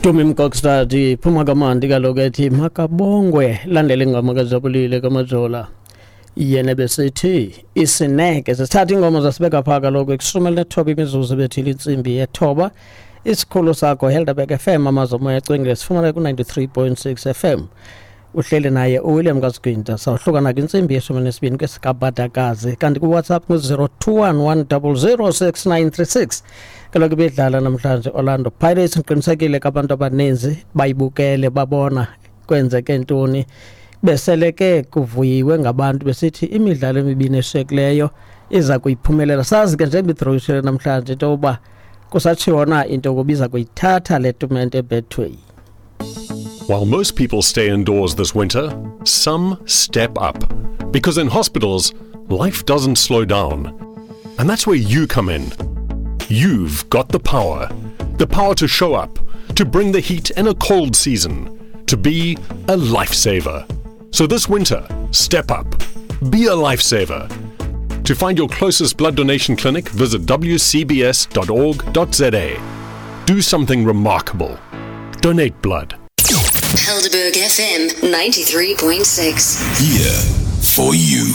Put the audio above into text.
Tumi Mkokstad iphuma kamandi kaloku ethi makabongwe, landela ingoma kaJabulile kaMajola. Yena besithi isineke. Sisithatha ingoma zasibeka phaa kaloku ekwishumi elinethoba imizuzu ebethile intsimbi yethoba. Isikhulu sakho Helderberg FM, amazwi omoya acwengile, sifumana ku-93.6 FM. Uhleli naye uWilliam Kasigwinta. Sawuhlukana kwintsimbi yeshumi nesibini kwesikabadakazi, kanti kuWhatsApp ngu-021 100 6936. Kaloku ibidlala namhlanje Orlando Pirates. Ngiqinisekile ke abantu abaninzi bayibukele, babona kwenzeke ntoni. Beseleke kuvuyiwe ngabantu besithi imidlalo emibini eshiyekileyo iza kuyiphumelela. Sazi ke njengoba idrowishele namhlanje into yokuba kusatshiwo na into yokuba iza kuyithatha le tumente eBetway. While most people stay indoors this winter, some step up. Because in hospitals, life doesn't slow down. And that's where you come in. You've got the power. The power to show up, to bring the heat in a cold season, to be a lifesaver. So this winter, step up. Be a lifesaver. To find your closest blood donation clinic, visit wcbs.org.za. Do something remarkable. Donate blood. Helderberg FM 93.6. Here for you.